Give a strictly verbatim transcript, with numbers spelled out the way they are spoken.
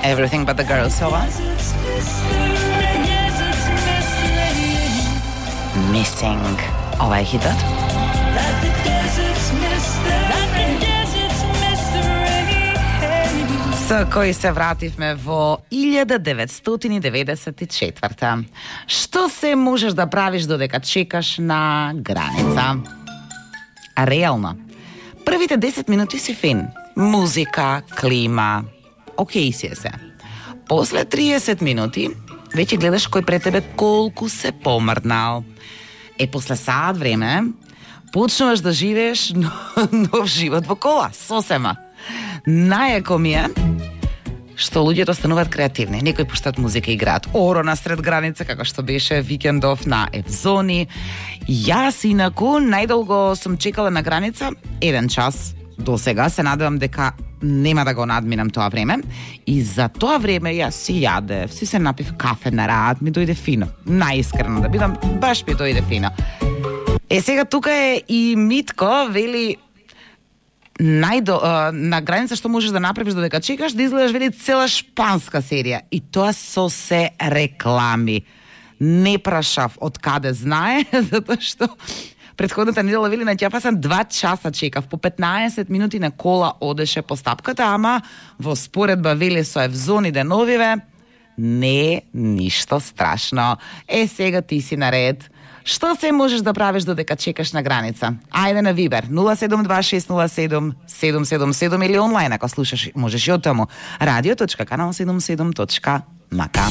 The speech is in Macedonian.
Everything But The Girls, ова. Missing, ова е хитот. Со кој се вративме во илјада деветстотини деветдесет и четврта. Што се можеш да правиш додека чекаш на граница? Реално. Првите десет минути си фин. Музика, клима, окей си е се. После триесет минути веќе гледаш кој пред тебе колку се помрднал. Е, после саат време почнуваш да живееш нов живот во кола, сосема. Најако ми е што луѓето стануваат креативни. Некои пуштат музика и играат оро на сред граница, како што беше викендов на Евзони. Јас инаку најдолго сум чекала на граница еден час. До сега се надевам дека нема да го надминам тоа време. И за тоа време јас си јадев, си се напив кафе на рад, ми дојде фино. Најискрено да бидам, баш ми дојде фино. Е, сега тука е и Митко, вели најдо, а, на граница што можеш да направиш додека чекаш, да изгледаш, вели, цела шпанска серија. И тоа со се реклами. Не прашав од каде знае, затоа што претходната недела, вели, на ќафа сам два часа чекав, по петнаесет минути на кола одеше по стапката, ама во споредба, вели, со Евзони деновиве, не ништо страшно. Е, сега ти си наред. Што се можеш да правиш додека чекаш на граница? Ајде на Вибер нула седум два шест нула седум седум седум седум или онлайн ако слушаш, можеш и од таму радио точка канал седумдесет и седум точка ем ка.